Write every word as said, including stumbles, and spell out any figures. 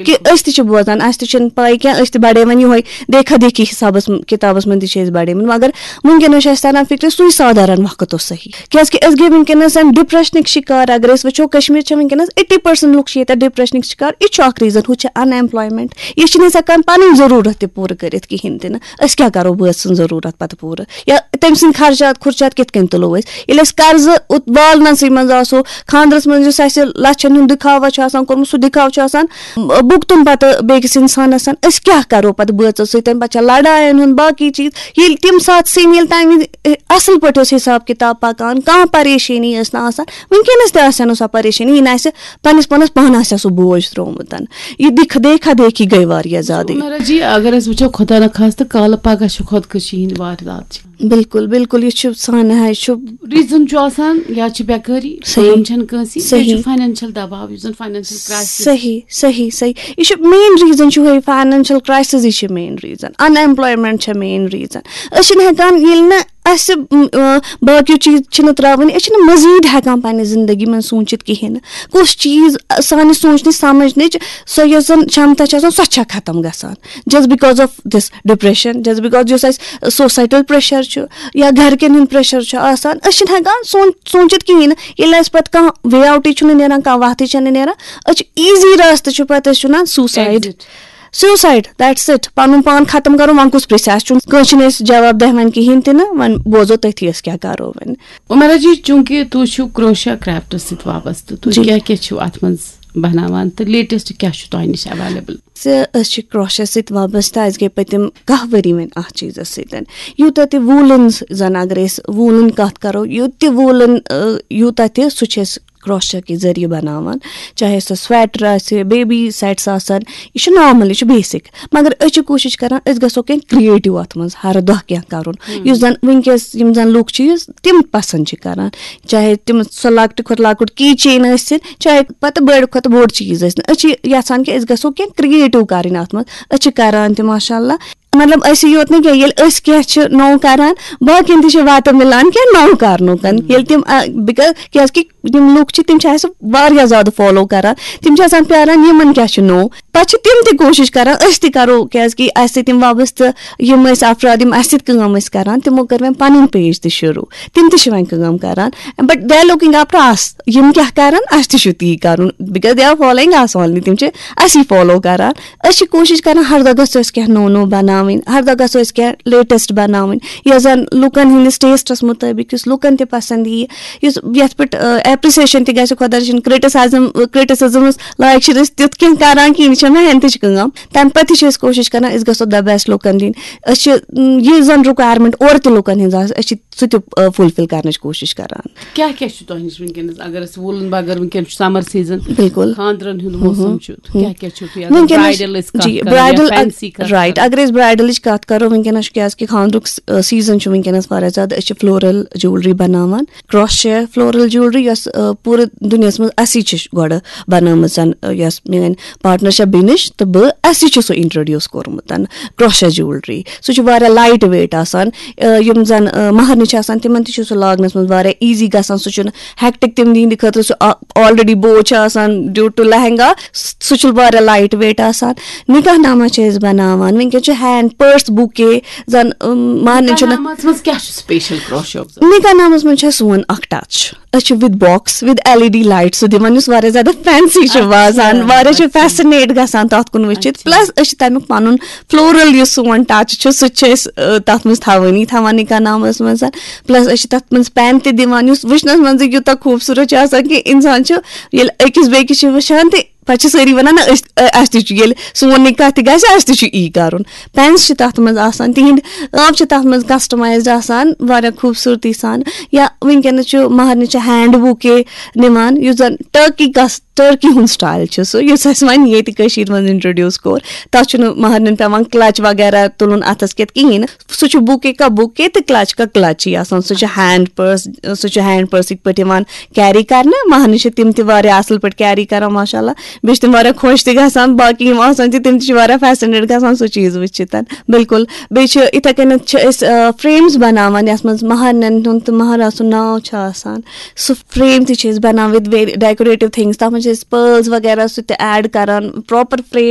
کہِ أسۍ تہِ چھِ بوزان، اَسہِ تہِ چھِنہٕ پَے کینٛہہ، أسۍ تہِ بَڑے وۄنۍ یِہوٚے دیکھا دیکھی حِسابَس م-، کِتابَس منٛز تہِ چھِ أسۍ بَڑیمٕتۍ، مگر وٕنکیٚنَس چھِ اَسہِ تَران فِکرِ سُے سادھارَن وقت اوس صحیح، کیٛازِکہِ أسۍ گٔے وٕنکیٚنَس اَمہِ ڈِپریشنٕکۍ شِکار۔ اگر أسۍ وٕچھو، کشمیٖر چھِ وٕنکیٚنَس ایٹی پٔرسَنٛٹ لُکھ چھِ ییٚتہِ ڈِپریشنٕکۍ شِکار۔ یہِ چھُ اَکھ ریٖزَن، ہُہ چھِ اَن ایمپلایمٮ۪نٛٹ، یہِ چھِنہٕ أسۍ ہٮ۪کان پَنٕنۍ ضروٗرت تہِ پوٗرٕ کٔرِتھ کِہیٖنۍ تہِ نہٕ۔ أسۍ کیٛاہ کَرو بٲژ سٕنٛز ضروٗرت پَتہٕ پوٗرٕ؟ یا تٔمۍ سٕنٛدۍ خرچات خُرچات کِتھ کٔنۍ تُلو أسۍ؟ ییٚلہِ أسۍ قرضہٕ اُت-، والنَسٕے منٛز آسو، خانٛدرَس منٛز یُس اَسہِ لَچھَن ہُنٛد دِکھاوا چھُ آسان کوٚرمُت، سُہ دِکھاو چھُ آسان، م-، بُگتُن پَتہٕ بیٚکِس اِنسانَس۔ أسۍ کیٛاہ کَرو پَتہٕ بٲژَس سۭتۍ؟ پَتہٕ چھےٚ لَڑایَن ہُنٛد باقٕے چیٖز۔ ییٚلہِ تَمہِ ساتہٕ سُہ ییٚلہِ تَمہِ وِزِ، اَصٕل پٲٹھۍ اوس حِساب کِتاب پَکان، کانٛہہ پریشٲنی ٲس نہٕ آسان۔ وٕنکیٚنَس تہِ آسہِ ہا نہٕ سۄ پریشٲنی، یہِ نہٕ آسہِ پَنٕنِس پانَس، پانَس آسہِ ہا سُہ بوج ترٛوومُت۔ یہِ دِکھ-، دیکھا دیکھی گٔے واریاہ زیادٕ۔ عمرہ جی، اگر أسۍ وٕچھو، خۄدا نخواستہٕ کالہٕ پگاہ چھُ خۄدکٔشی ہِنٛدۍ واردات چھِ۔ بِلکُل، بِلکُل، یہِ چھُ سانہِ ہا، یہِ چھُ ریٖزن چھُ آسان، یا چھِ بیکٲری، صحیح۔ کٲم چھَنہٕ کٲنٛسہِ، بیٚیہِ چھُ صحیح۔ فاینانشل دباو، یُس زَن فاینانشل کرائسس۔ صحیح، صحیح، صحیح۔ یہِ چھُ مین ریٖزن چھُ یِہوٚے، فاینانشل کرائسسٕے چھِ مین ریٖزن، ان ایمپلایمنٹ چھےٚ مین ریٖزن۔ أسۍ چھِنہٕ ہٮ۪کان، ییٚلہِ نہٕ اَسہِ، م، آ، باقیو چیٖز چھِنہٕ ترٛاوٕنۍ، أسۍ چھِنہٕ مٔزیٖد ہٮ۪کان پننہِ زندگی منٛز سوٗنٛچِتھ کِہیٖنۍ نہٕ۔ کُس چیٖز، آ، سانہِ سوٗنٛچنٕچ سمجھنٕچ سۄ یۄس زَن چھَمتا چھِ آسان، سۄ چھےٚ ختم گژھان۔ Just because of this depression، just because یُس اَسہِ societal pressure چھُ یا گَرِکٮ۪ن ہُنٛد pressure چھُ آسان، أسۍ چھِنہٕ ہٮ۪کان سونٛچ-، سوٗنٛچِتھ کِہیٖنۍ نہٕ۔ ییٚلہِ اَسہِ پَتہٕ کانٛہہ way outٕے چھُنہٕ نیران، کانٛہہ وَتھٕے چھَنہٕ نیران، أسۍ چھِ easy راستہٕ چھُ پَتہٕ أسۍ وَنان suicide۔ Exit۔ Suicide، that's it۔ پَنُن پان ختم کَرُن، وۄنۍ کُس پرٛژھِ؟ اَسہِ چھُنہٕ کٲنٛسہِ چھِنہٕ أسۍ جواب دہ وَنہِ کِہیٖنۍ تہِ نہٕ، وۄنۍ بوزو تٔتھی أسۍ کیٛاہ کَرو وۄنۍ۔ عمرہ جی، چوٗنٛکہِ تُہۍ چھِو کروشیا کرافٹس سۭتۍ وابستہٕ، تُہۍ جی۔ کیٛاہ کیٛاہ چھِو اَتھ منٛز بَناوان تہٕ latest کیٛاہ چھُ تۄہہِ نِش available؟ زِ أسۍ چھِ کروشیا سۭتۍ وابستہٕ، اَسہِ گٔے پٔتِم کاہ ؤری وۄنۍ اَتھ چیٖزَس سۭتۍ۔ یوٗتاہ تہِ woolens زَن اگر أسۍ woolن کَتھ کَرو، یوٗت تہِ woolن، ٲ، یوٗتاہ تہِ سُہ چھِ أسۍ کروشیا کہِ ذٔریعہٕ بَناوان، چاہے سُہ sweater آسہِ، baby sets آسَن، یہِ چھُ normal، یہِ چھُ basic۔ مگر أسۍ چھِ کوٗشِش کَران أسۍ گژھو کینٛہہ creative اَتھ منٛز، ہر دۄہ کینٛہہ کَرُن، ہُم۔ یُس زَن وٕنکیٚس یِم زَن لُکھ چھِ، یُس تِم پَسنٛد چھِ کَران۔ چاہے تِم سۄ لۄکٹہِ کھۄتہٕ لۄکُٹ key chain ٲسِن، چاہے پَتہٕ بٔڑ کھۄتہٕ بوٚڑ چیٖز ٲسِن، أسۍ چھِ یَژھان کہِ أسۍ گژھو کینٛہہ creative کَرٕنۍ اَتھ منٛز۔ أسۍ چھِ کَران تہِ، ماشاء اللہ۔ مطلب، أسی یوت نہٕ کینٛہہ، ییٚلہِ أسۍ کینٛہہ چھِ نوٚو کَران، باقیَن تہِ چھِ وَتہٕ مِلان کینٛہہ نوٚو کَرنُک۔ ہُم۔ ییٚلہِ تِم، آ، because کیٛازِکہِ یِم لُکھ چھِ، تِم چھِ اَسہِ واریاہ زیادٕ follow کَران، تِم چھِ آسان پیٛاران، یِمَن کیٛاہ چھُ نوٚو۔ پَتہٕ چھِ تِم تہِ کوٗشِش کَران، أسۍ تہِ کَرو، کیٛازِکہِ اَسہِ سۭتۍ یِم وابستہٕ یِم ٲسۍ افراد، یِم اَسہِ سۭتۍ کٲم ٲسۍ کَران، تِمو کٔر وۄنۍ پَنٕنۍ page تہِ شروٗع، تِم تہِ چھِ وۄنۍ کٲم کَران، but they are looking up to us، یِم کیٛاہ کَرَن، اَسہِ تہِ چھُ تی کَرُن، because they are following us only، تِم چھِ اَسی follow کَران۔ أسۍ چھِ کوٗشِش کَران ہر دۄہ گژھو أسۍ کینٛہہ نوٚو نوٚو بَناوٕنۍ، ہر دۄہ گژھو أسۍ کینٛہہ latest بَناوٕنۍ، یۄس زَن لُکَن ہٕنٛدِس ٹیسٹَس مُطٲبِق، یُس لُکَن تہِ پَسنٛد یِیہِ، یُس یَتھ پٮ۪ٹھ، آ، appreciation تہِ گژھِ۔ خۄدا رٔچھِنۍ، criticism، criticismس لایق چھِنہٕ أسۍ تیُتھ کینٛہہ کَران کِہیٖنۍ، یہِ چھےٚ محنتٕچ کٲم۔ تَمہِ پَتہٕ تہِ چھِ أسۍ کوٗشِش کَران أسۍ گژھو the best لُکَن دِنۍ۔ أسۍ چھِ، م، یہِ زَن requirement اورٕ تہِ لُکَن ہٕنٛز آسہِ، أسۍ چھِ سُہ تہِ، آ، fulfil کَرنٕچ کوٗشِش کَران۔ کیٛاہ کیٛاہ چھُ تۄہہِ نِش وٕنکیٚنَس، اگر أسۍ woolن بغٲر، وٕنکیٚنَس چھُ summer season، بِلکُل۔ خانٛدرَن ہُنٛد موسم ہُم۔ چھُ، ہُم۔ کیٛاہ کیٛاہ چھُو تُہۍ اَتھ وٕنکیٚنَس bridal أسۍ کَتھ جی، کَرو یا bridal، fancy کَتھ right، کَرو؟ اگر أسۍ bridalٕچ کَتھ کَرو، وٕنکیٚنَس چھُ کیٛازِکہِ خانٛدرُک س-، آ، season چھُ وٕنکیٚنَس واریاہ زیادٕ۔ أسۍ چھِ floral jewellery بَناوان، crochet floral jewellery، یۄس، آ، پوٗرٕ دُنیاہَس منٛز اَسی چھِ گۄڈٕ بَنٲومٕژ، آ، یۄس میٛٲنۍ partner چھےٚ بِنِش تہٕ بہٕ، اَسی چھُ سُہ introduce کوٚرمُت، crochet jewellery۔ سُہ چھُ واریاہ light weight آسان۔ آ، یِم زَن، آ، مَہرنہِ چھِ آسان، تِمَن تہِ چھُ سُہ لاگنَس منٛز واریاہ easy گژھان۔ سُہ چھُنہٕ hectic تِم دِہِنٛدِ خٲطرٕ، سُہ آ-، already بوج چھِ آسان due to لہنگا، س-، سُہ چھُ واریاہ light weight آسان۔ نکاح نامہ چھِ أسۍ بَناوان، وٕنکیٚن چھُ hand purse bouquet، زَن، اۭم، مہرنہِ نکاح چھُنہٕ نامَس منٛز کیٛاہ چھُ special crochet؟ نکاح نامَس منٛز چھُ اَسہِ سون اکھ touch۔ أسۍ چھِ with box، with L E D light سُہ دِوان، یُس واریاہ زیادٕ fancy چھُ اچھا، باسان، واریاہ چھُ اچھا۔ Fascinate گژھان تَتھ کُن وٕچھِتھ۔ اچھا۔ Plus أسۍ چھِ تَمیُک پَنُن floral یُس سون touch چھُ، سُہ تہِ چھِ أسۍ، آ، تَتھ منٛز تھاوٲنی تھاوان نکاح نامَس منٛز۔ Plus أسۍ چھِ تَتھ منٛز pen تہِ دِوان، یُس وٕچھنَس منٛزٕے یوٗتاہ خوٗبصوٗرت چھُ آسان کہِ اِنسان چھُ ییٚلہِ أکِس بیٚکِس چھِ وٕچھان تہِ پَتہٕ چھِ سٲری وَنان، نہ، أسۍ، اَ-، اَسہِ تہِ چھُ، ییٚلہِ سون نکاح تہِ گژھِ، اَسہِ تہِ چھُ یی کَرُن۔ Pens چھِ تَتھ منٛز آسان، تِہِنٛدۍ ٲنٛپ چھِ تَتھ منٛز customized آسان، واریاہ خوٗبصوٗرتی سان۔ یا وٕنکیٚنَس چھُ مہرنہِ چھِ hand bouquet نِوان، یُس زَن Turkey cus-، Turkey ہُنٛد style چھُ سُہ، یُس اَسہِ وۄنۍ ییٚتہِ کٔشیٖرِ منٛز introduce کوٚر۔ تَتھ چھُنہٕ مہرنٮ۪ن پٮ۪وان clutch وغیرہ تُلُن اَتھَس کٮ۪تھ کِہیٖنۍ نہٕ۔ سُہ چھُ bouquet کا bouquet تہٕ clutch کا clutch یی آسان۔ سُہ چھُ hand purse، سُہ چھُ hand purse یِتھ پٲٹھۍ یِوان carry کَرنہٕ۔ مہرنہِ چھِ تِم تہِ واریاہ اَصٕل پٲٹھۍ carry کَران، ماشاء اللہ۔ بیٚیہِ چھِ تِم واریاہ خۄش تہِ گژھان، باقٕے یِم آسان چھِ تِم تہِ چھِ واریاہ فیسِنیٹ گژھان سُہ چیٖز وٕچھِتھ۔ بِلکُل، بیٚیہِ چھِ یِتھَے کٔنٮ۪تھ چھِ أسۍ فریمٕز بَناوان یَتھ منٛز مہرنٮ۪ن ہُنٛد تہٕ مہراز سُنٛد ناو چھُ آسان۔ سُہ فریم تہِ چھِ أسۍ بَناوان with very decorative things، تَتھ منٛز چھِ أسۍ پٲرلز وغیرہ سُہ تہِ ایڈ کَران، پراپر فریم۔